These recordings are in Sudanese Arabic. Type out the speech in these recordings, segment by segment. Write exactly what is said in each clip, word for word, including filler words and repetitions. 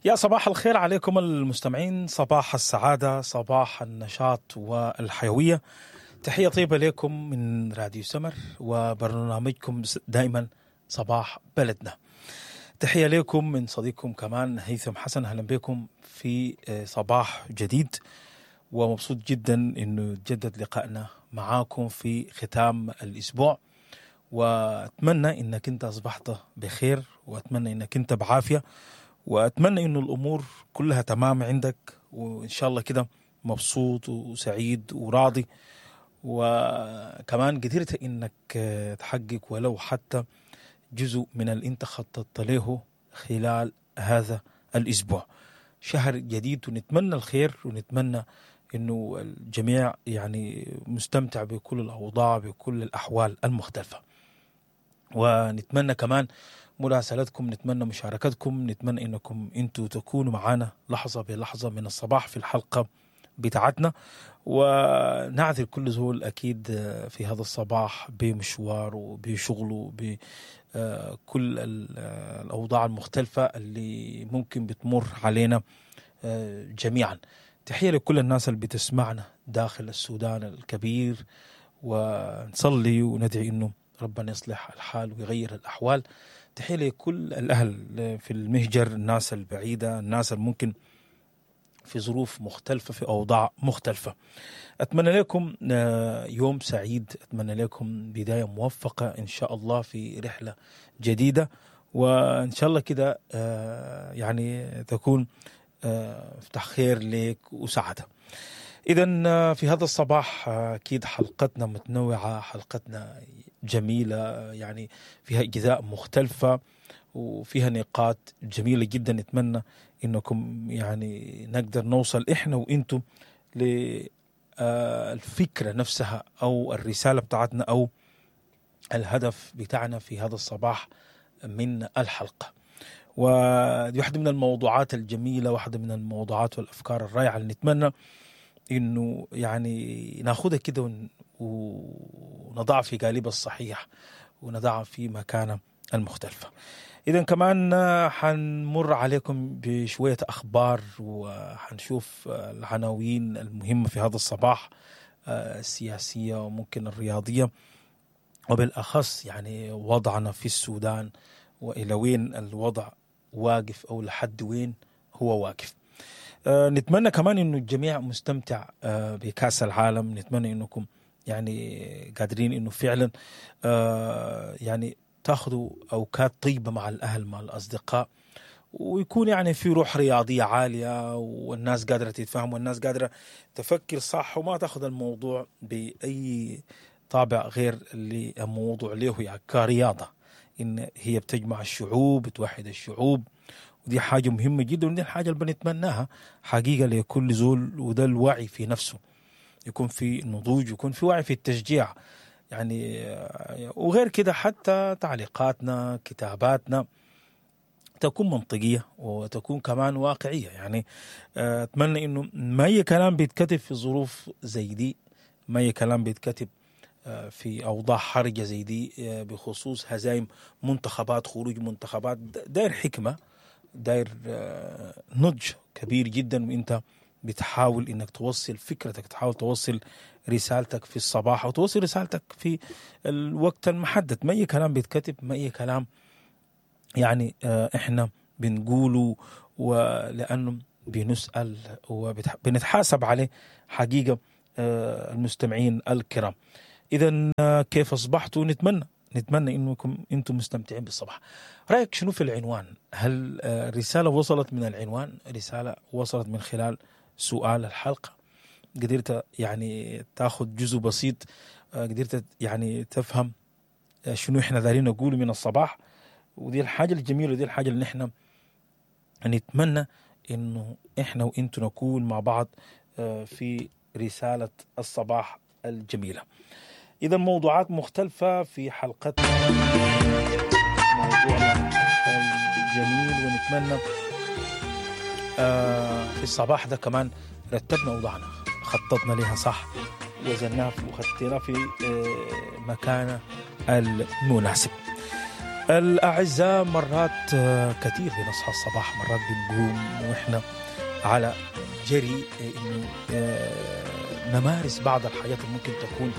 يا صباح الخير عليكم المستمعين، صباح السعادة، صباح النشاط والحيوية. تحية طيبة لكم من راديو سمر وبرنامجكم دائما صباح بلدنا. تحية لكم من صديقكم كمان هيثم حسن. أهلا بكم في صباح جديد، ومبسوط جدا انه تجدد لقائنا معاكم في ختام الاسبوع، واتمنى انك انت اصبحت بخير، واتمنى انك انت بعافية، واتمنى انه الامور كلها تمام عندك، وان شاء الله كده مبسوط وسعيد وراضي، وكمان قدرت انك تحقق ولو حتى جزء من اللي انت خططت له خلال هذا الاسبوع. شهر جديد، ونتمنى الخير، ونتمنى انه الجميع يعني مستمتع بكل الاوضاع بكل الاحوال المختلفة. ونتمنى كمان مراسلتكم، نتمنى مشاركتكم، نتمنى انكم انتوا تكونوا معانا لحظة بلحظة من الصباح في الحلقة بتاعتنا. ونعذر كل زول اكيد في هذا الصباح بمشواره وبشغله بكل الاوضاع المختلفة اللي ممكن بتمر علينا جميعا. تحية لكل الناس اللي بتسمعنا داخل السودان الكبير، ونصلي وندعي انه ربنا يصلح الحال ويغير الأحوال. تحية لكل الأهل في المهجر، الناس البعيدة، الناس الممكن في ظروف مختلفة في أوضاع مختلفة. أتمنى لكم يوم سعيد، أتمنى لكم بداية موفقة إن شاء الله في رحلة جديدة، وإن شاء الله كده يعني تكون افتح خير لك وسعادة. إذا في هذا الصباح أكيد حلقتنا متنوعة، حلقتنا جميلة، يعني فيها أجزاء مختلفة وفيها نقاط جميلة جدا. نتمنى إنكم يعني نقدر نوصل إحنا وإنتم للفكرة نفسها أو الرسالة بتاعتنا أو الهدف بتاعنا في هذا الصباح من الحلقة. ودي واحدة من الموضوعات الجميلة، واحدة من الموضوعات والأفكار الرائعة اللي نتمنى إنه يعني ناخدها كده ونضع في قالبها الصحيح ونضعها في مكانها المختلفة. إذن كمان حنمر عليكم بشوية أخبار، وحنشوف العناوين المهمة في هذا الصباح السياسية وممكن الرياضية، وبالأخص يعني وضعنا في السودان وإلى وين الوضع واقف أو لحد وين هو واقف. نتمنى كمان إنه الجميع مستمتع بكأس العالم، نتمنى إنكم يعني قادرين إنه فعلا يعني تاخذوا أوقات طيبة مع الأهل مع الأصدقاء، ويكون يعني في روح رياضية عالية، والناس قادرة تتفهم والناس قادرة تفكر صح، وما تاخذ الموضوع بأي طابع غير اللي الموضوع له يعني كرياضة، إن هي بتجمع الشعوب، بتوحد الشعوب، ودي حاجة مهمة جدا، ودي الحاجة اللي بنتمناها حقيقة لكل زول، وده الوعي في نفسه، يكون في نضوج، يكون في وعي في التشجيع يعني. وغير كده حتى تعليقاتنا كتاباتنا تكون منطقية وتكون كمان واقعية. يعني أتمنى إنه ما أي كلام بيتكتب في ظروف زي دي، ما أي كلام بيتكتب في أوضاع حرجة زي دي بخصوص هزايم منتخبات، خروج منتخبات، داير حكمة، داير نضج كبير جدا، وانت بتحاول انك توصل فكرتك، تحاول توصل رسالتك في الصباح او توصل رسالتك في الوقت المحدد. ما اي كلام بيتكتب، ما اي كلام يعني احنا بنقوله، ولانه بنسأل وبنتحاسب عليه حقيقة المستمعين الكرام. اذا كيف اصبحتوا؟ نتمنى نتمنى انكم انتم مستمتعين بالصباح. رايك شنو في العنوان؟ هل الرسالة وصلت من العنوان؟ رسالة وصلت من خلال سؤال الحلقة؟ قدرت يعني تاخذ جزء بسيط، قدرت يعني تفهم شنو احنا دارين نقوله من الصباح؟ ودي الحاجة الجميلة، ودي الحاجة اللي نحن نتمنى انه احنا وانتم نكون مع بعض في رسالة الصباح الجميلة. إذا موضوعات مختلفة في حلقتنا، موضوعنا الجميل، ونتمنى في الصباح ده كمان رتبنا وضعنا، خططنا لها صح، وزناها وخطيناها في مكانه المناسب. الأعزاء، مرات كثير بنصحى الصباح، مرات بنقوم وإحنا على جري إنه نمارس بعض الحاجات اللي ممكن تكون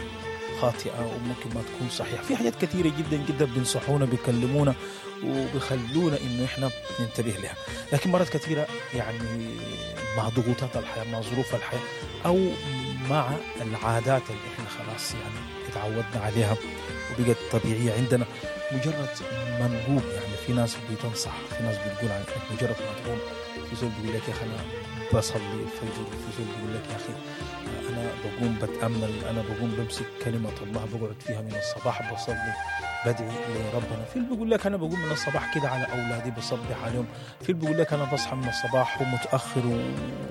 خاطئة وممكن ما تكون صحيحة. في حاجات كثيرة جدا جدا بينصحونا، بيكلمونا وبيخلونا إنه إحنا ننتبه لها، لكن مرات كثيرة يعني مع ضغوطات الحياة، مع ظروف الحياة، أو مع العادات اللي إحنا خلاص يعني اتعودنا عليها وبقت طبيعية عندنا، مجرد ما نقوم يعني في ناس بتنصح، في ناس بتقول عن مجرد ما تقوم، في زول بيقول لك يا أخي أنا بصلي الفجر، في زول بيقول لك يا أخي أنا بقوم بتأمل، أنا بقوم بمسك كلمة الله بقعد فيها من الصباح بصلي بدعي لربنا، في اللي بيقول لك أنا بقوم من الصباح كده على أولادي بصبح عليهم، في اللي بيقول لك أنا بصحى من الصباح ومتأخر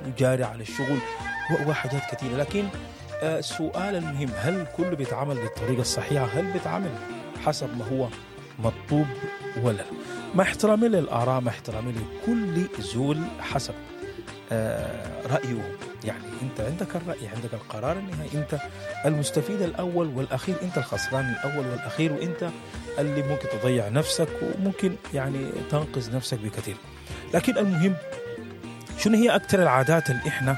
وجاري على الشغل وحاجات كثيرة. لكن السؤال المهم، هل كله بيتعامل بالطريقة الصحيحة؟ هل بيتعامل حسب ما هو مطلوب ولا لا؟ مع احترامي للآراء، مع احترامي لكل زول حسب رأيه، يعني أنت عندك الرأي، عندك القرار النهائي، أنت المستفيد الأول والأخير، أنت الخسران الأول والأخير، وأنت اللي ممكن تضيع نفسك وممكن يعني تنقذ نفسك بكثير. لكن المهم، شنو هي أكثر العادات اللي إحنا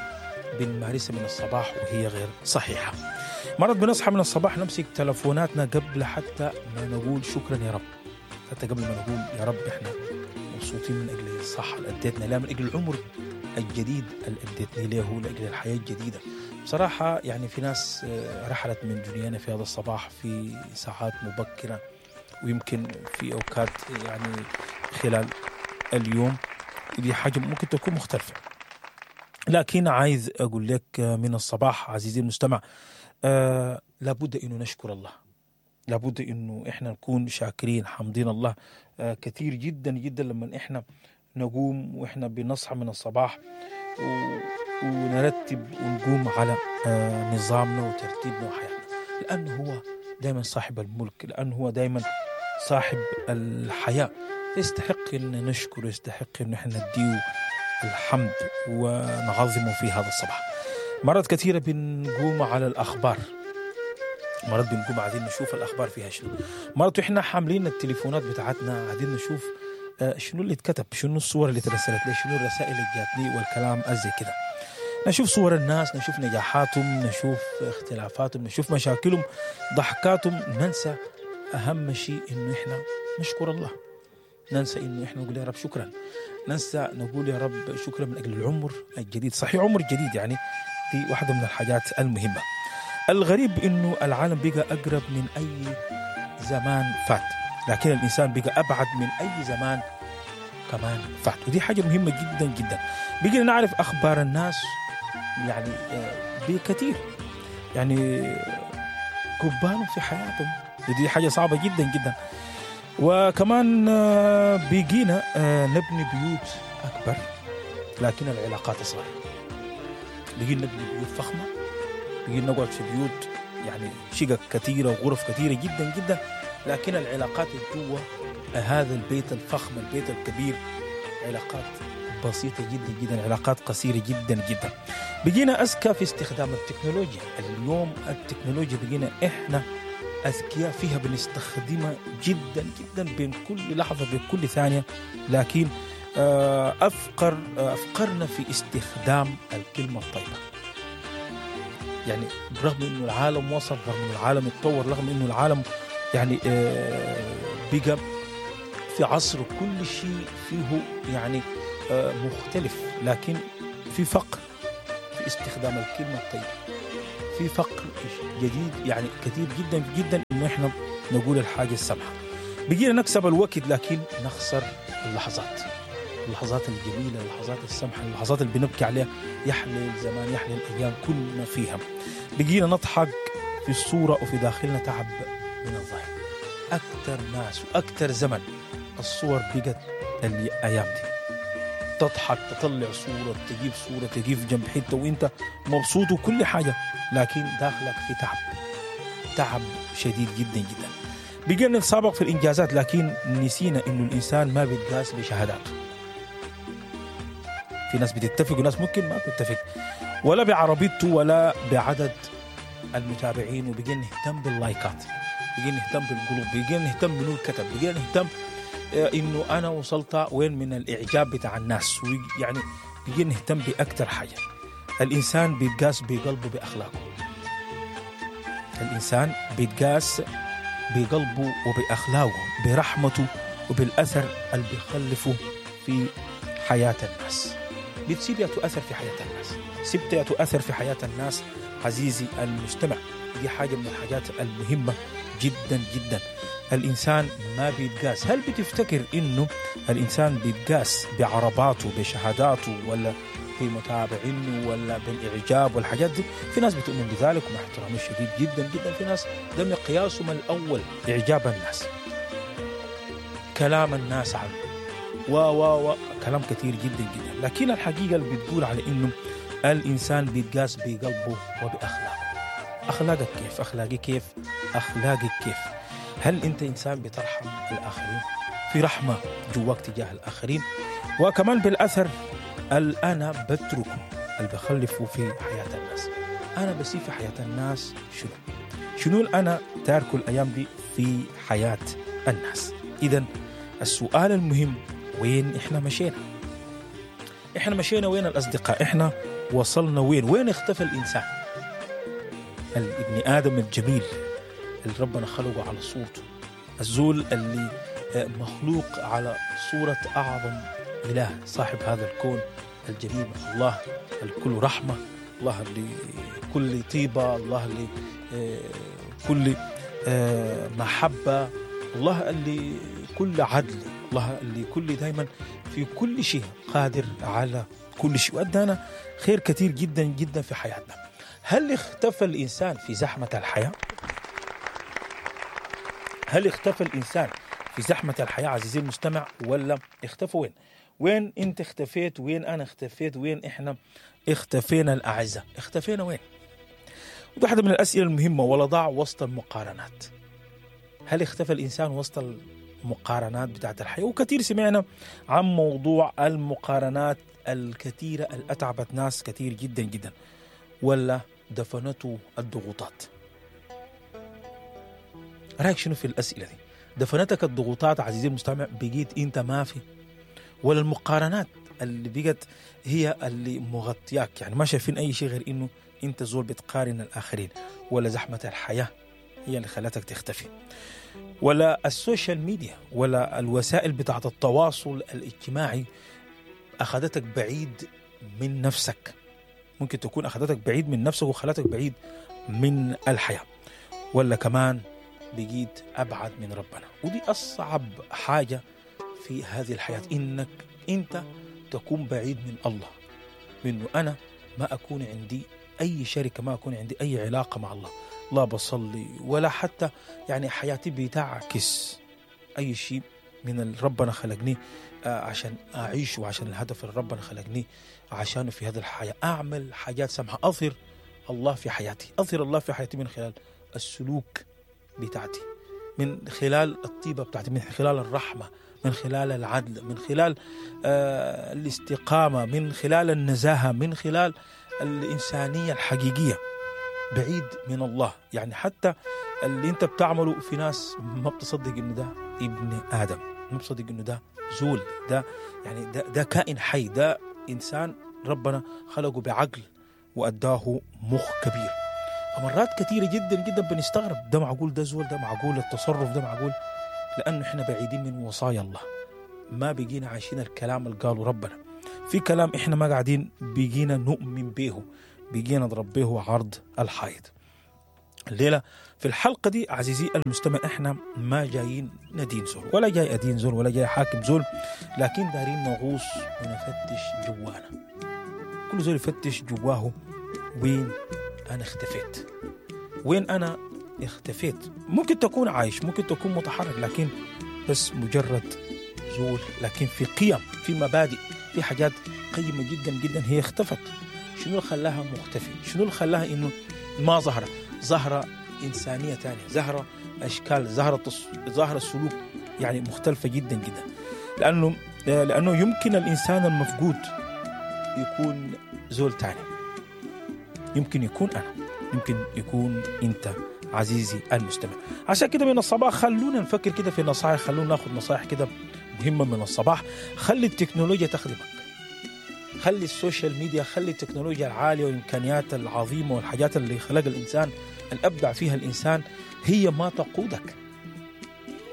بنمارسها من الصباح وهي غير صحيحة؟ مرات بنصحى من الصباح نمسك تلفوناتنا قبل حتى ما نقول شكرا يا رب، حتى قبل ما نقول يا رب إحنا مبسوطين من أجل الصحة اللي أديتنا لها، من أجل العمر الجديد اللي أديتني له، لأجل الحياة الجديدة. بصراحة يعني في ناس رحلت من دنيانا في هذا الصباح في ساعات مبكرة، ويمكن في أوقات يعني خلال اليوم، دي حاجة ممكن تكون مختلفة. لكن عايز أقول لك من الصباح عزيزي المستمع، آه لابد إنه نشكر الله، لابد إنه إحنا نكون شاكرين حامدين الله آه كثير جدا جدا لما إحنا نقوم وإحنا بنصحى من الصباح و... ونرتب ونقوم على آه نظامنا وترتيبنا وحياتنا، لأنه هو دائما صاحب الملك، لأنه هو دائما صاحب الحياة، يستحق إن نشكره، يستحق إن إحنا نديه الحمد ونعظمه في هذا الصباح. مرات كثيرة بنقوم على الأخبار، مرات بنقوم عايزين نشوف الأخبار فيها شنو، مرات إحنا حاملين التليفونات بتاعتنا عايزين نشوف شنو اللي اتكتب، شنو الصور اللي ترسلت لي، شنو الرسائل اللي جاتني والكلام أزي كده. نشوف صور الناس، نشوف نجاحاتهم، نشوف اختلافاتهم، نشوف مشاكلهم، ضحكاتهم، ننسى أهم شيء إنه إحنا نشكر الله، ننسى إنه إحنا نقول يا رب شكرا، ننسى نقول يا رب شكرا من أجل العمر الجديد. صحيح عمر جديد، يعني دي واحدة من الحاجات المهمة. الغريب إنه العالم بقى أقرب من أي زمان فات، لكن الإنسان بقى أبعد من أي زمان كمان فات، ودي حاجة مهمة جدا جدا. بقينا نعرف أخبار الناس يعني بكثير، يعني كبانهم في حياتهم، ودي حاجة صعبة جدا جدا. وكمان بقينا نبني بيوت أكبر لكن العلاقات أصغر، بقينا نبني بيوت فخمة، بقينا نقعد في بيوت يعني شقق كثيرة وغرف كثيرة جدا جدا، لكن العلاقات جوا هذا البيت الفخم، البيت الكبير، علاقات بسيطة جدا جدا، علاقات قصيرة جدا جدا. بقينا أذكى في استخدام التكنولوجيا. اليوم التكنولوجيا بقينا إحنا أذكياء فيها، بنستخدمها جدا جدا بين كل لحظة بين كل ثانية، لكن أفقر أفقرنا في استخدام الكلمة الطيبة. يعني برغم إنه العالم وصل، رغم إنه العالم اتطور، رغم إنه العالم يعني بقى في عصر كل شيء فيه يعني مختلف، لكن في فقر في استخدام الكلمة الطيبة، في فقر جديد يعني كثير جدا جدا إنه إحنا نقول الحاجة السمحة. بقينا نكسب الوقت لكن نخسر اللحظات، اللحظات الجميلة، اللحظات السمحة، اللحظات اللي بنبكي عليها، يحلي الزمان، يحلي الأيام كلنا فيها. بقينا نضحك في الصورة وفي داخلنا تعب من الظاهر. أكثر ناس وأكثر زمن الصور بقت الأيام دي تضحك، تطلع صورة، تجيب صورة، تجيب جنب حتة وانت مبسوط وكل حاجة، لكن داخلك في تعب، تعب شديد جدا جدا. بقينا نتسابق في الإنجازات لكن نسينا إنه الإنسان ما بيتقاس بشهاداته. في ناس بتتفق وناس ممكن ما بتتفق، ولا بعربيته ولا بعدد المتابعين، وبقينا نهتم باللايكات، بقينا نهتم بالقلوب، بقينا نهتم منو الكتب، بقينا نهتم انه انا وصلت وين من الاعجاب بتاع الناس، يعني بقينا نهتم باكثر حاجة. الانسان بيتقاس بقلبه باخلاقه. الانسان بيتقاس بقلبه وباخلاقه، برحمته وبالاثر اللي بيخلفه في حياة الناس. بتسيب ياتو اثر في حياة الناس، سبت ياتو اثر في حياة الناس عزيزي المستمع. دي حاجة من الحاجات المهمة جدا جدا. الإنسان ما بيتقاس. هل بتفتكر إنه الإنسان بيتقاس بعرباته بشهاداته ولا بمتابعينه ولا بالإعجاب والحاجات دي؟ في ناس بتؤمن بذلك، ومع احترامي الشديد جدا جدا في ناس ده مقياسهم الأول إعجاب الناس، كلام الناس عنه و و و كلام كثير جدا جدا. لكن الحقيقة اللي بتقول على إنه الإنسان بيتقاس بقلبه وبأخلاقه. أخلاقك كيف؟ أخلاقي كيف؟ أخلاقك كيف؟ هل أنت إنسان بترحم الآخرين؟ في رحمة جواك تجاه الآخرين؟ وكمان بالأثر اللي أنا بتركه اللي بخلفه في حياة الناس. أنا بسيب في حياة الناس شنو؟ شنو اللي أنا تاركه الأيام دي في حياة الناس؟ إذن السؤال المهم، وين إحنا مشينا؟ إحنا مشينا وين الأصدقاء؟ إحنا وصلنا وين؟ وين اختفى الإنسان؟ الابن آدم الجميل اللي ربنا خلقه على صورته، الزول اللي مخلوق على صورة أعظم إله صاحب هذا الكون الجميل، الله الكل رحمة، الله اللي كل طيبة، الله اللي كل محبة، الله اللي كل عدل، الله اللي كل دايما في كل شيء قادر على كل شيء، وأدانا خير كثير جدا جدا في حياتنا. هل اختفى الإنسان في زحمة الحياة؟ هل اختفى الإنسان في زحمة الحياة عزيزي المستمع، ولا اختفى وين؟ وين انت اختفيت؟ وين انا اختفيت؟ وين احنا اختفينا الأعزاء؟ اختفينا وين؟ ودي واحدة من الأسئلة المهمة. ولا ضاع وسط المقارنات؟ هل اختفى الإنسان وسط المقارنات بتاعت الحياة؟ وكثير سمعنا عن موضوع المقارنات الكثيرة اللي أتعبت ناس كثير جدا جدا، ولا دفنته الضغوطات؟ رأيك شنو في الأسئلة دي؟ دفنتك الضغوطات عزيزي المستمع، بقيت انت ما في، ولا المقارنات اللي بقت هي اللي مغطياك، يعني ما شايفين اي شيء غير انه انت زول بتقارن الاخرين، ولا زحمة الحياة هي اللي خلتك تختفي، ولا ال social media ولا الوسائل بتاعت التواصل الاجتماعي اخذتك بعيد من نفسك؟ ممكن تكون اخذتك بعيد من نفسك وخلتك بعيد من الحياة، ولا كمان بقيت أبعد من ربنا. ودي أصعب حاجة في هذه الحياة، إنك أنت تكون بعيد من الله، منه أنا ما أكون عندي أي شركة، ما أكون عندي أي علاقة مع الله، لا بصلي ولا حتى يعني حياتي بتعكس أي شيء من اللي ربنا خلقني عشان أعيش، وعشان الهدف اللي ربنا خلقني عشانه في هذه الحياة. أعمل حاجات سمحة، أظهر الله في حياتي، أظهر الله في حياتي من خلال السلوك بتاعتي، من خلال الطيبة بتاعتي، من خلال الرحمة، من خلال العدل، من خلال آه الاستقامة، من خلال النزاهة، من خلال الإنسانية الحقيقية. بعيد من الله، يعني حتى اللي انت بتعمله في ناس ما بتصدق انه ده ابن آدم، ما بتصدق انه ده زول، ده يعني ده, ده كائن حي، ده إنسان ربنا خلقه بعقل وأداه مخ كبير. فمرات كثيرة جدا جدا بنستغرب، ده معقول ده زول، ده معقول التصرف، ده معقول، لأنه إحنا بعيدين من وصايا الله، ما بقينا عايشين الكلام اللي قاله ربنا. في كلام إحنا ما قاعدين بقينا نؤمن به، بقينا نضرب به عرض الحائط. الليلة في الحلقة دي عزيزي المستمع إحنا ما جايين ندين زول، ولا جاي أدين زول، ولا جاي حاكم زول، لكن دارين نغوص ونفتش جوانا. كل زول يفتش جواه، وين أنا اختفيت؟ وين أنا اختفيت؟ ممكن تكون عايش، ممكن تكون متحرك، لكن بس مجرد زول، لكن في قيم، في مبادئ، في حاجات قيمة جدا جدا هي اختفت. شنو اللي خلاها مختفي؟ شنو اللي خلاها إنه ما ظهر؟ ظهر إنسانية تانية، ظهر أشكال، ظهر تص... ظهر السلوك يعني مختلفة جدا جدا. لأنه لأنه يمكن الإنسان المفقود يكون زول تاني، يمكن يكون أنا، يمكن يكون أنت عزيزي المستمع. عشان كده من الصباح خلونا نفكر كده في نصائح، خلونا ناخذ نصائح كده المهمة من الصباح. خلي التكنولوجيا تخدمك، خلي ال social media، خلي التكنولوجيا العالية والإمكانيات العظيمة والحاجات اللي خلق الإنسان، الأبدع فيها الإنسان، هي ما تقودك.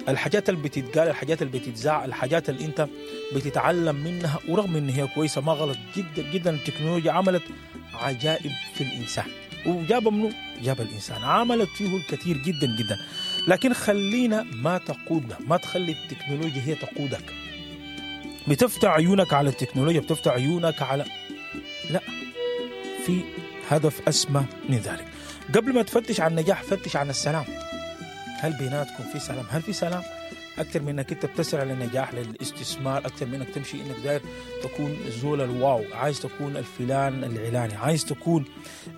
الحاجات اللي بتتقال، الحاجات اللي بتتذاع، الحاجات اللي انت بتتعلم منها، ورغم ان هي كويسة ما غلط جدا جدا، التكنولوجيا عملت عجائب في الانسان، وجاب منه جاب الانسان، عملت فيه الكثير جدا جدا. لكن خلينا ما تقودنا، ما تخلي التكنولوجيا هي تقودك. بتفتح عيونك على التكنولوجيا، بتفتح عيونك على لا، في هدف اسمى من ذلك. قبل ما تفتش عن النجاح فتش عن السلام. هل بيناتكم في سلام؟ هل في سلام؟ أكثر من إنك أنت بتسعى للنجاح، للاستثمار، أكثر من إنك تمشي إنك داير تكون زول الواو، عايز تكون الفلان العلاني، عايز تكون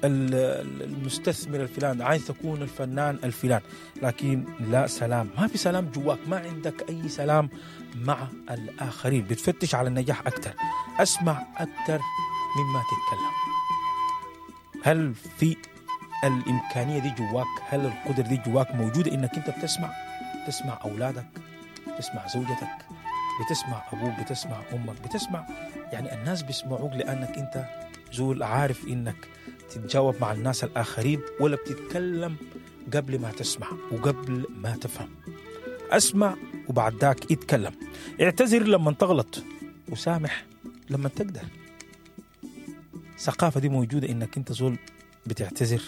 المستثمر الفلان، عايز تكون الفنان الفلان، لكن لا سلام، ما في سلام جواك، ما عندك أي سلام مع الآخرين. بتفتش على النجاح أكثر، أسمع أكثر مما تتكلم. هل في الإمكانية دي جواك؟ هل القدرة دي جواك موجودة إنك أنت بتسمع؟ تسمع أولادك، بتسمع زوجتك، بتسمع أبوك، بتسمع أمك، بتسمع يعني الناس بيسمعوك لأنك أنت زول عارف إنك تتجاوب مع الناس الآخرين، ولا بتتكلم قبل ما تسمع وقبل ما تفهم؟ أسمع وبعد ذاك اتكلم. اعتذر لما تغلط وسامح لما تقدر. الثقافة دي موجودة إنك أنت زول بتعتذر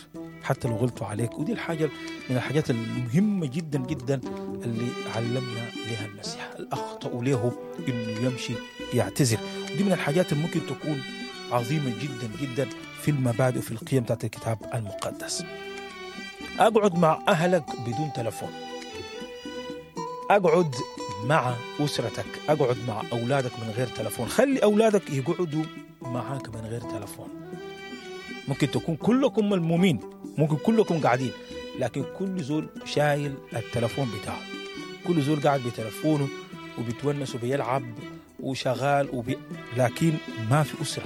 حتى لو غلطوا عليك، ودي الحاجة من الحاجات المهمة جدا جدا اللي علمنا لها المسيح. الأخطأ له إنه يمشي يعتذر، ودي من الحاجات اللي ممكن تكون عظيمة جدا جدا في المبادئ وفي القيم بتاعت الكتاب المقدس. أقعد مع أهلك بدون تلفون، أقعد مع أسرتك، أقعد مع أولادك من غير تلفون، خلي أولادك يقعدوا معاك من غير تلفون. ممكن تكون كلكم ملمومين، ممكن كلكم قاعدين، لكن كل زول شايل التلفون بتاعه، كل زول قاعد بتلفونه وبيتونس وبيلعب وشغال وبي... لكن ما في أسرة،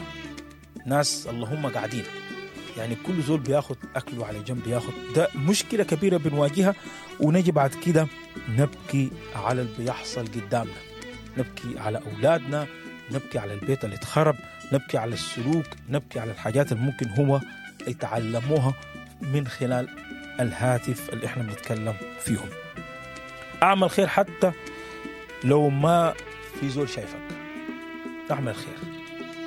ناس اللهم قاعدين، يعني كل زول بياخد أكله على جنب، بياخد. ده مشكلة كبيرة بنواجهها، ونجي بعد كده نبكي على اللي بيحصل قدامنا، نبكي على أولادنا، نبكي على البيت اللي اتخرب، نبكي على السلوك، نبكي على الحاجات اللي ممكن هو يتعلموها من خلال الهاتف اللي احنا بنتكلم فيهم. اعمل خير حتى لو ما في زول شايفك، اعمل خير.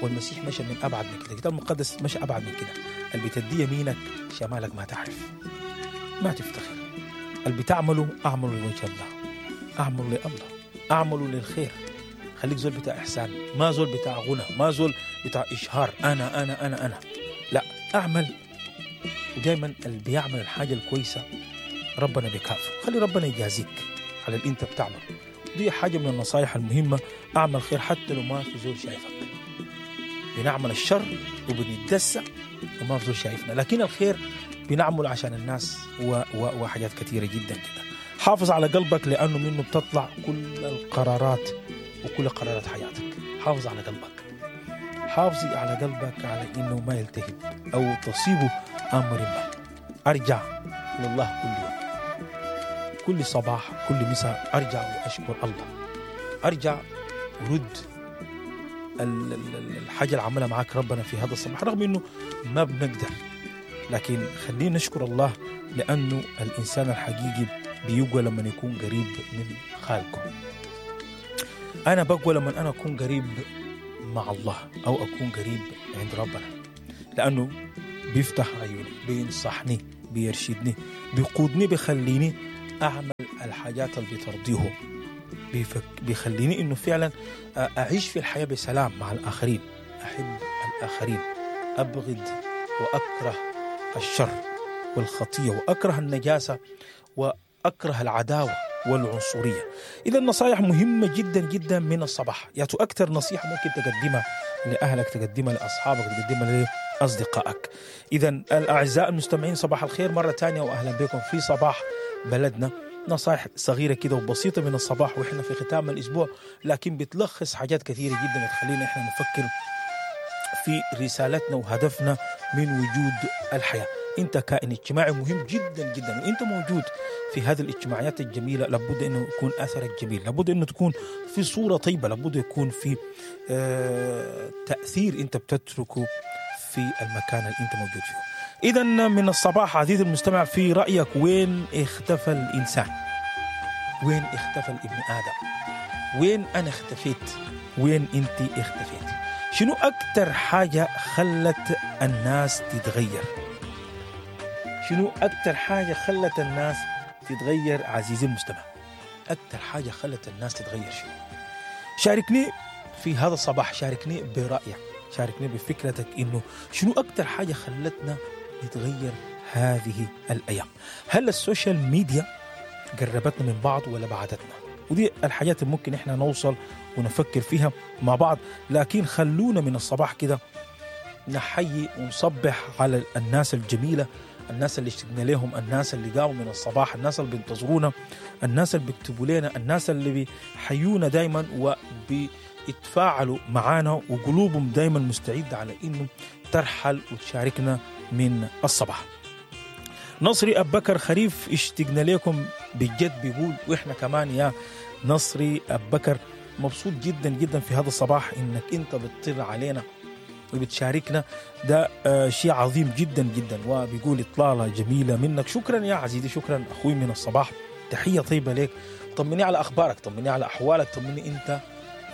والمسيح مشى من ابعد من كده، الكتاب المقدس مشى ابعد من كده. اللي بتدي يمينك شمالك ما تعرف، ما تفتخر. اللي بتعمله اعمله لوجه الله، اعمله لله، اعمله للخير. خليك زول بتاع إحسان، ما زول بتاع غنى، ما زول بتاع إشهار، أنا أنا أنا أنا لا، أعمل. ودايما اللي بيعمل الحاجة الكويسة ربنا بيكافئه، خلي ربنا يجازيك على اللي أنت بتعمل. دي حاجة من النصائح المهمة، أعمل خير حتى لو ما في زول شايفك. بنعمل الشر وبنتدسع وما في زول شايفنا، لكن الخير بنعمل عشان الناس و و وحاجات كثيرة جدا جدا. حافظ على قلبك لأنه منه بتطلع كل القرارات وكل قرارات حياتك. حافظ على قلبك، حافظي على قلبك على إنه ما يلتهب أو تصيبه أمر ما. أرجع لله كل يوم، كل صباح، كل مساء أرجع وأشكر الله، أرجع ورد الحاجة اللي عملها معاك ربنا في هذا الصباح، رغم إنه ما بنقدر، لكن خلينا نشكر الله، لأنه الإنسان الحقيقي بيقوى لما يكون قريب من خالقه. أنا بقوى لما أنا أكون قريب مع الله أو أكون قريب عند ربنا، لأنه بيفتح عيوني، بينصحني، بيرشدني، بيقودني، بيخليني أعمل الحاجات اللي بترضيه، بيفك بيخليني إنه فعلا أعيش في الحياة بسلام مع الآخرين، أحب الآخرين، أبغض وأكره الشر والخطية، وأكره النجاسة، وأكره العداوة والعنصرية. إذا النصائح مهمة جدا جدا من الصباح. يعني أكثر نصيحة ممكن تقدمها لأهلك، تقدمها لأصحابك، تقدمها لأصدقائك. إذا الأعزاء المستمعين صباح الخير مرة تانية، وأهلا بكم في صباح بلدنا. نصائح صغيرة كده وبسيطة من الصباح وإحنا في ختام الأسبوع، لكن بتلخص حاجات كثيرة جدا تخلينا إحنا نفكر في رسالتنا وهدفنا من وجود الحياة. انت كائن اجتماعي مهم جدا جدا، وانت موجود في هذه الاجتماعيات الجميلة لابد انه يكون اثرك جميل، لابد انه تكون في صوره طيبة، لابد يكون في آه تاثير انت بتتركه في المكان اللي انت موجود فيه. اذا من الصباح عزيزي المستمع، في رايك وين اختفى الانسان؟ وين اختفى الابن ادم؟ وين انا اختفيت؟ وين انت اختفيت؟ شنو اكتر حاجة خلت الناس تتغير؟ شنو اكتر حاجة خلت الناس تتغير عزيزي المستمع؟ اكتر حاجة خلت الناس تتغير شنو؟ شاركني في هذا الصباح، شاركني برايك، شاركني بفكرتك انه شنو اكتر حاجة خلتنا نتغير هذه الايام؟ هل ال social media قربتنا من بعض ولا بعدتنا؟ ودي الحاجات اللي ممكن احنا نوصل ونفكر فيها مع بعض. لكن خلونا من الصباح كده نحيي ونصبح على الناس الجميلة، الناس اللي اشتقنا لهم، الناس اللي قاموا من الصباح، الناس اللي بينتظرونا، الناس اللي بيكتبوا لنا، الناس اللي بيحيونا دايما وبيتفاعلوا معانا، وقلوبهم دايما مستعدة على انه ترحل وتشاركنا من الصباح. نصري أبو بكر خريف، اشتقنا لكم بجد، بيقول واحنا كمان يا نصري أبو بكر مبسوط جدا جدا في هذا الصباح انك انت بتطل علينا وبتشاركنا، ده آه شيء عظيم جدا جدا. وبيقول اطلالة جميلة منك، شكرا يا عزيزي، شكرا اخوي من الصباح، تحية طيبة لك. طمني على اخبارك، طمني على احوالك، طمني انت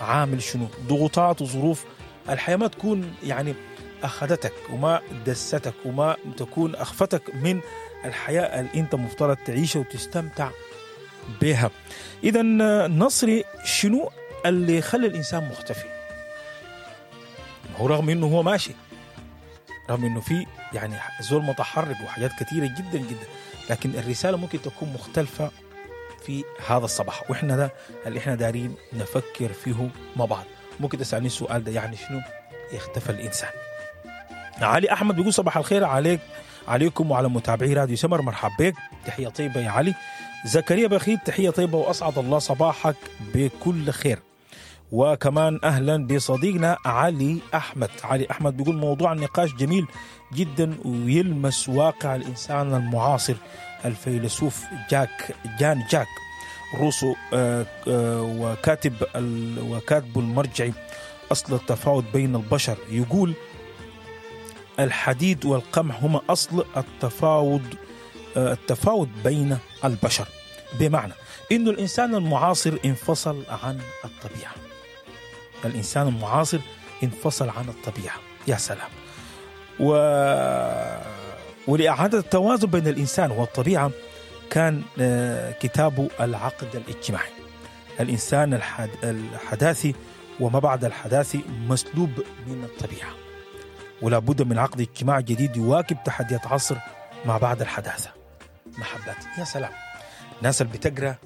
عامل شنو؟ ضغوطات وظروف الحياة ما تكون يعني اخذتك وما دستك وما تكون اخفتك من الحياة اللي انت مفترض تعيشها وتستمتع بها. اذا نصري، شنو اللي خلى الانسان مختفي؟ هو رغم انه هو ماشي، رغم انه في يعني زول متحرك وحاجات كثيرة جدا جدا، لكن الرسالة ممكن تكون مختلفة في هذا الصباح، واحنا ده اللي احنا دارين نفكر فيه مع بعض. ممكن تسالني السؤال ده، يعني شنو اختفى الانسان؟ علي احمد بيقول صباح الخير عليك عليكم وعلى متابعي راديو سمر، مرحب بك، تحية طيبة يا علي. زكريا بخيت، تحية طيبة واسعد الله صباحك بكل خير. وكمان اهلا بصديقنا علي احمد. علي احمد بيقول موضوع النقاش جميل جدا ويلمس واقع الانسان المعاصر. الفيلسوف جاك جان جاك روسو آه آه وكاتب وكاتب المرجعي اصل التفاوت بين البشر، يقول الحديد والقمح هما أصل التفاوض التفاوت بين البشر، بمعنى إنه الإنسان المعاصر انفصل عن الطبيعة. الإنسان المعاصر انفصل عن الطبيعة، يا سلام. و... ولإعادة التوازن بين الإنسان والطبيعة كان كتابه العقد الاجتماعي. الإنسان الحد... الحداثي وما بعد الحداثي مسلوب من الطبيعة، ولا بد من عقد اجتماع جديد يواكب تحديات عصر ما بعد الحداثة. محبات، يا سلام. الناس اللي بتقرأ،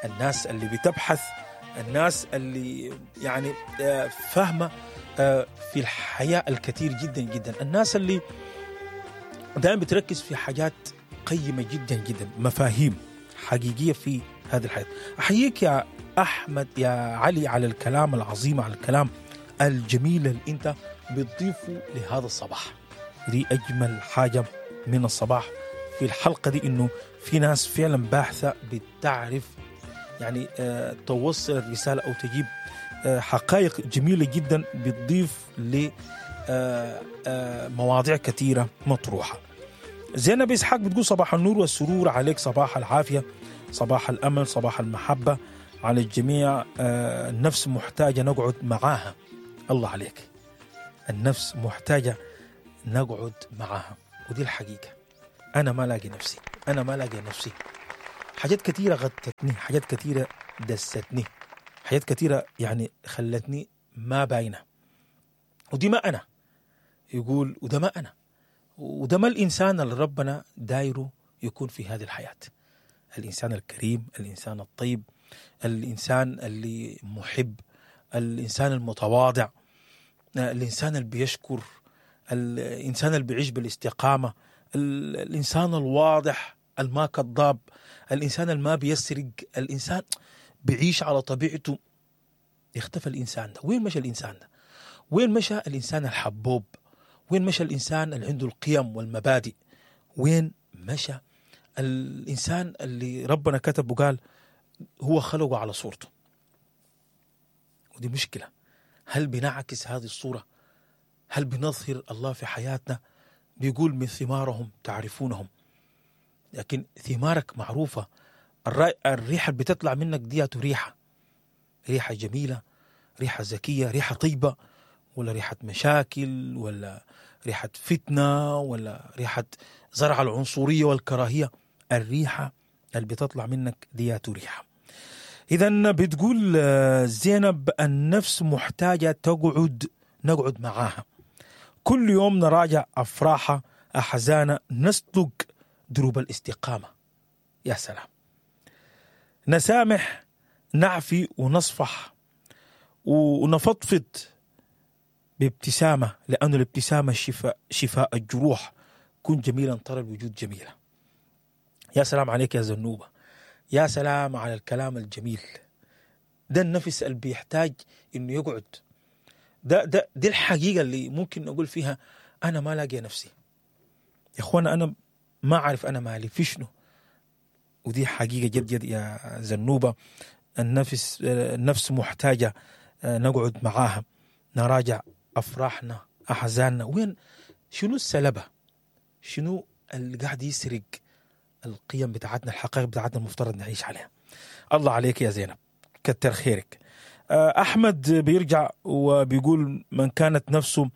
الناس اللي بتبحث، الناس اللي يعني فاهمة في الحياة الكثير جدا جدا، الناس اللي دائما بتركز في حاجات قيمة جدا جدا، مفاهيم حقيقية في هذه الحياة. أحييك يا أحمد يا علي على الكلام العظيم، على الكلام الجميل اللي أنت بتضيفه لهذا الصباح. دي أجمل حاجة من الصباح في الحلقة دي، إنه في ناس فعلا باحثة بتعرف يعني آه توصل الرسالة أو تجيب آه حقائق جميلة جدا بتضيف لمواضيع آه آه كثيرة مطروحة. زينب إسحاق بتقول صباح النور والسرور عليك، صباح العافية، صباح الأمل، صباح المحبة على الجميع. آه النفس محتاجة نقعد معاها. الله عليك، النفس محتاجة نقعد معاها، ودي الحقيقة. أنا ما لاقي نفسي، أنا ما لاقي نفسي. حاجات كثيرة غطتني، حاجات كثيرة دستني، حاجات كثيرة يعني خلتني ما باينة، ودي ما أنا. يقول وده ما أنا، وده ما الإنسان اللي ربنا دايرة يكون في هذه الحياة. الإنسان الكريم، الإنسان الطيب، الإنسان اللي محب، الإنسان المتواضع، الإنسان اللي بيشكر، الإنسان اللي بيعيش بالاستقامة، الإنسان الواضح الما كذاب، الإنسان الما بيسرق، الإنسان بيعيش على طبيعته. اختفى الإنسان ده. وين مشى الإنسان ده؟ وين مشى الإنسان الحبوب؟ وين مشى الإنسان اللي عنده القيم والمبادئ؟ وين مشى الإنسان اللي ربنا كتب وقال هو خلقه على صورته؟ ودي مشكلة. هل بنعكس هذه الصورة؟ هل بنظهر الله في حياتنا؟ بيقول من ثمارهم تعرفونهم. لكن ثمارك معروفة، الريحة اللي بتطلع منك دي ريحة، ريحة جميلة، ريحة زكية، ريحة طيبة، ولا ريحة مشاكل، ولا ريحة فتنة، ولا ريحة زرع العنصرية والكراهية. الريحة اللي بتطلع منك ديات ريحة. إذن بتقول زينب النفس محتاجة تقعد، نقعد معاها كل يوم، نراجع أفراحها أحزانها، نسلك دروب الاستقامة. يا سلام. نسامح، نعفي ونصفح ونفضفض بابتسامة، لأن الابتسامة شفاء, شفاء الجروح. كن جميلا ترى الوجود جميلة. يا سلام عليك يا زنوبة، يا سلام على الكلام الجميل ده. النفس اللي بيحتاج إنه يقعد ده, ده دي الحقيقة اللي ممكن نقول فيها أنا ما لاقي نفسي يا أخوانا، أنا ما عارف أنا مالي في شنو. ودي حقيقة جد جد يا زنوبة. النفس النفس محتاجة نقعد معاها، نراجع أفراحنا أحزاننا. وين شنو السلبة؟ شنو اللي قاعد يسرق القيم بتاعتنا، الحقائق بتاعتنا المفترض نعيش عليها؟ الله عليك يا زينب، كتر خيرك. أحمد بيرجع وبيقول من كانت نفسه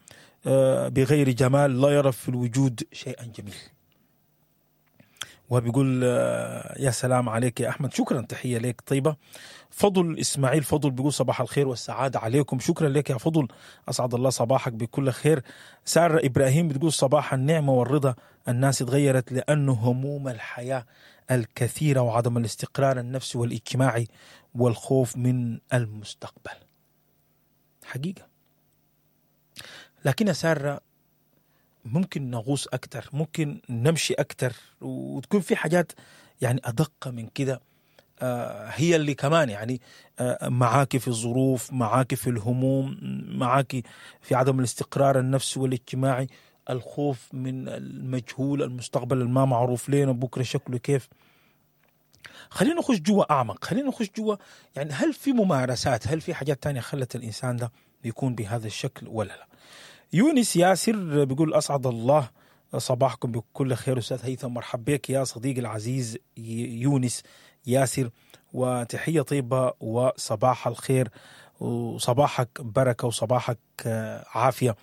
بغير جمال لا يرى في الوجود شيئا جميل. وبيقول يا سلام عليك يا أحمد، شكرا، تحية لك طيبة. فضل إسماعيل فضل بيقول صباح الخير والسعادة عليكم، شكرا لك يا فضل، أسعد الله صباحك بكل خير. سارة إبراهيم بتقول صباح النعمة والرضا، الناس اتغيرت لأنه هموم الحياة الكثيرة وعدم الاستقرار النفسي والاجتماعي والخوف من المستقبل. حقيقة. لكن يا سارة ممكن نغوص أكتر، ممكن نمشي أكتر، وتكون في حاجات يعني أدق من كده، هي اللي كمان يعني معاك في الظروف، معاك في الهموم، معاك في عدم الاستقرار النفسي والاجتماعي، الخوف من المجهول، المستقبل الما معروف لنا بكرة شكله كيف. خلينا نخش جوا أعمق، خلينا نخش جوا يعني هل في ممارسات، هل في حاجات تانية خلت الإنسان ده بيكون بهذا الشكل ولا لا؟ يونس ياسر بيقول أسعد الله صباحكم بكل خير أستاذ هيثم، مرحب بك يا صديقي العزيز يونس ياسر، وتحية طيبة وصباح الخير وصباحك بركة وصباحك عافية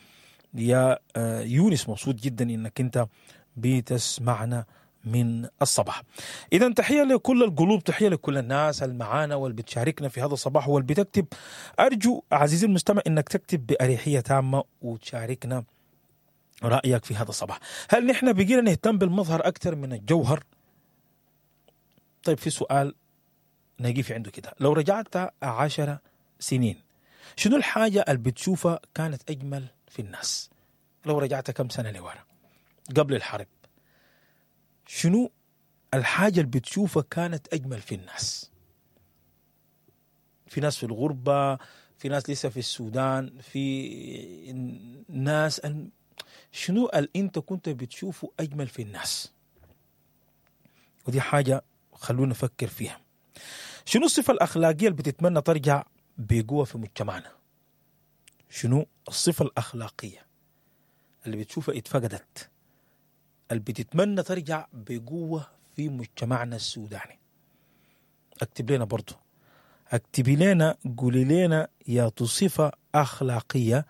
يا يونس، مبسوط جدا إنك أنت بتسمعنا من الصباح. إذا تحية لكل القلوب، تحية لكل الناس المعانا واللي بتشاركنا في هذا الصباح واللي بتكتب. أرجو عزيزي المستمع إنك تكتب بأريحية تامة وتشاركنا رأيك في هذا الصباح. هل نحن بقينا نهتم بالمظهر أكثر من الجوهر؟ طيب في سؤال نقف عنده كده، لو رجعت عشر سنين شنو الحاجة اللي بتشوفها كانت أجمل في الناس؟ لو رجعت كم سنة لورا قبل الحرب، شنو الحاجة اللي بتشوفها كانت أجمل في الناس؟ في ناس في الغربة، في ناس لسه في السودان، في ناس، شنو اللي أنت كنت بتشوفه أجمل في الناس؟ ودي حاجة خلونا نفكر فيها. شنو الصفة الأخلاقية اللي بتتمنى ترجع بقوة في مجتمعنا؟ شنو الصفة الأخلاقية اللي بتشوفها اتفقدت، اللي بتتمنى ترجع بقوة في مجتمعنا السوداني؟ اكتب لنا برضو، اكتبي لنا، قولي لنا يا صفة أخلاقية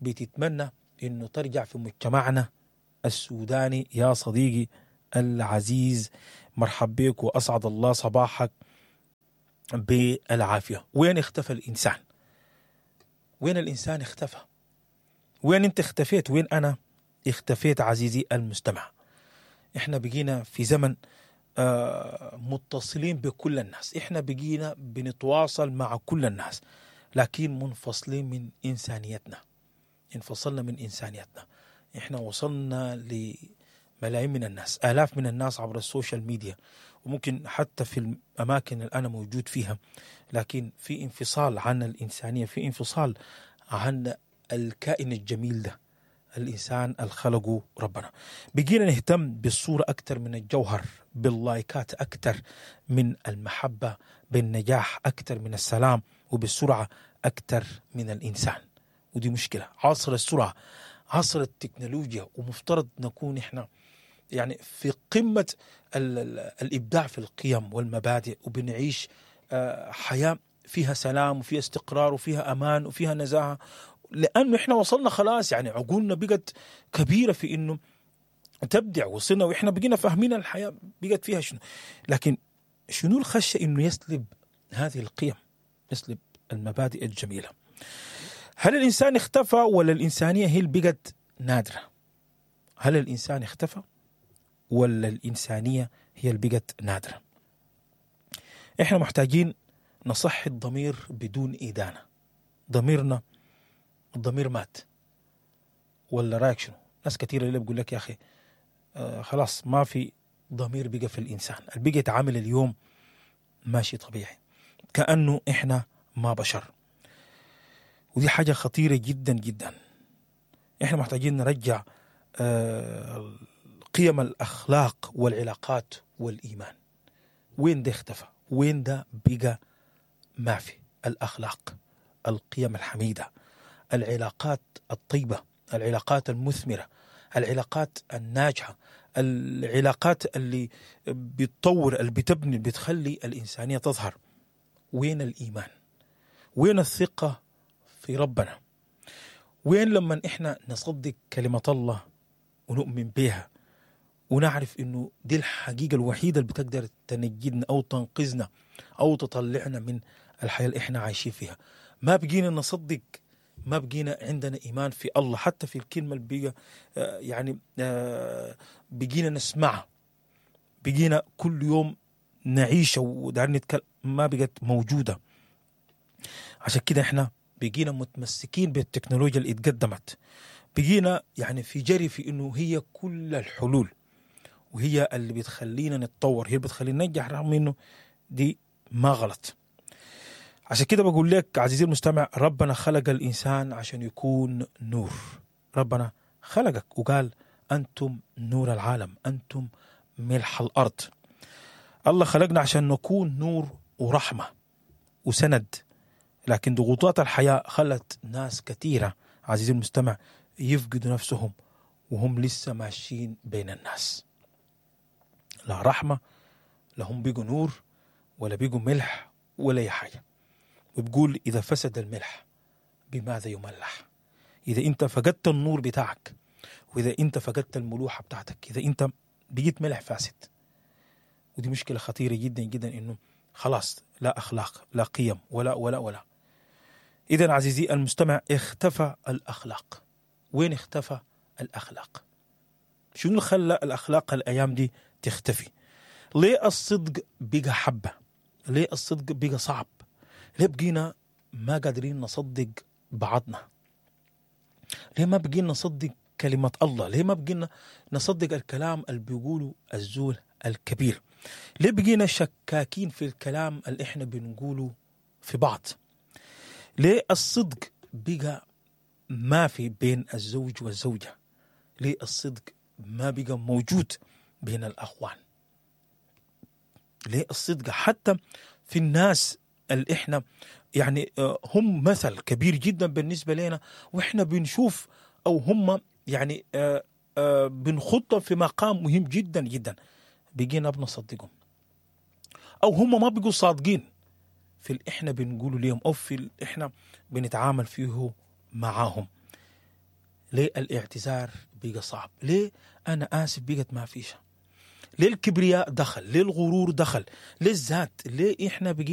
بتتمنى إنه ترجع في مجتمعنا السوداني. يا صديقي العزيز مرحب بك وأسعد الله صباحك بالعافية. وين اختفى الإنسان؟ وين الإنسان اختفى؟ وين انت اختفيت؟ وين أنا اختفيت عزيزي المستمع؟ احنا بقينا في زمن آه متصلين بكل الناس، احنا بقينا بنتواصل مع كل الناس، لكن منفصلين من إنسانيتنا. انفصلنا من إنسانيتنا. احنا وصلنا لملايين من الناس، آلاف من الناس عبر ال social media، وممكن حتى في الأماكن اللي أنا موجود فيها، لكن في انفصال عن الإنسانية، في انفصال عن الكائن الجميل ده الإنسان الخلقه ربنا. بقينا نهتم بالصورة أكتر من الجوهر، باللايكات أكتر من المحبة، بالنجاح أكتر من السلام، وبالسرعة أكتر من الإنسان. ودي مشكلة عصر السرعة، عصر التكنولوجيا، ومفترض نكون إحنا يعني في قمة ال ال الإبداع في القيم والمبادئ، وبنعيش حياة فيها سلام وفيها استقرار وفيها أمان وفيها نزاهة، لأنه إحنا وصلنا خلاص، يعني عقولنا بقت كبيرة في إنه تبدع، وصلنا وإحنا بقينا فاهمين الحياة بقت فيها شنو. لكن شنو الخشية إنه يسلب هذه القيم، يسلب المبادئ الجميلة؟ هل الإنسان اختفى ولا الإنسانية هي اللي بقت نادرة؟ هل الإنسان اختفى ولا الإنسانية هي اللي بقت نادرة؟ إحنا محتاجين نصحي الضمير بدون إدانة. ضميرنا الضمير مات ولا رايك شنو؟ ناس كثيرة اللي بيقول لك يا أخي آه خلاص ما في ضمير بقى في الإنسان، اللي بقى يتعامل اليوم ماشي طبيعي كأنه إحنا ما بشر. ودي حاجة خطيرة جدا جدا. إحنا محتاجين نرجع آه قيم الأخلاق والعلاقات والإيمان. وين ده اختفى؟ وين ده بقى ما في؟ الأخلاق، القيم الحميدة، العلاقات الطيبة، العلاقات المثمرة، العلاقات الناجحة، العلاقات اللي بتطور، اللي بتبني، اللي بتخلي الإنسانية تظهر. وين الإيمان؟ وين الثقة في ربنا؟ وين لما إحنا نصدق كلمة الله ونؤمن بها ونعرف إنه دي الحقيقة الوحيدة اللي بتقدر تنجدنا أو تنقذنا أو تطلعنا من الحياة اللي إحنا عايشين فيها؟ ما بقينا نصدق، ما بقينا عندنا إيمان في الله، حتى في الكلمة اللي بقى يعني بقينا نسمعها، بقينا كل يوم نعيشها ودار نتكلم، ما بقت موجودة. عشان كده إحنا بقينا متمسكين بالتكنولوجيا اللي اتقدمت، بقينا يعني في جري في إنه هي كل الحلول وهي اللي بتخلينا نتطور، هي اللي بتخلينا ننجح، رغم إنه دي ما غلط. عشان كده بقول لك عزيزي المستمع، ربنا خلق الإنسان عشان يكون نور. ربنا خلقك وقال أنتم نور العالم، أنتم ملح الأرض. الله خلقنا عشان نكون نور ورحمة وسند، لكن ضغوطات الحياة خلت ناس كثيرة عزيزي المستمع يفقدوا نفسهم وهم لسه ماشيين بين الناس. لا رحمة، لا هم بيجوا نور ولا بيجوا ملح ولا أي حاجة. وبقول إذا فسد الملح بماذا يملح؟ إذا أنت فقدت النور بتاعك، وإذا أنت فقدت الملوحة بتاعتك، إذا أنت بقيت ملح فاسد. ودي مشكلة خطيرة جدا جدا، إنه خلاص لا أخلاق لا قيم ولا ولا ولا. إذا عزيزي المستمع، اختفى الأخلاق. وين اختفى الأخلاق؟ شنو اللي خلى الأخلاق الأيام دي تختفي؟ ليه الصدق بقى حبة؟ ليه الصدق بقى صعب؟ ليه بقينا ما قادرين نصدق بعضنا؟ ليه ما بقينا نصدق كلمة الله؟ ليه ما بقينا نصدق الكلام اللي بيقوله الزول الكبير؟ ليه بقينا شكاكين في الكلام اللي احنا بنقوله في بعض؟ ليه الصدق بقى ما في بين الزوج والزوجة؟ ليه الصدق ما بقى موجود بين الأخوان؟ ليه الصدق حتى في الناس اللي احنا يعني هم مثل كبير جدا بالنسبة لنا، واحنا بنشوف او هم يعني بنخطهم في مقام مهم جدا جدا، بقينا بنصدقهم، او هم ما بيقوا صادقين في اللي احنا بنقوله ليهم او في اللي احنا بنتعامل فيه معاهم. ليه الاعتذار بقى صعب؟ ليه انا اسف بقت ما فيش؟ ليه الكبرياء دخل؟ ليه الغرور دخل؟ ليه الذات؟ ليه احنا بقينا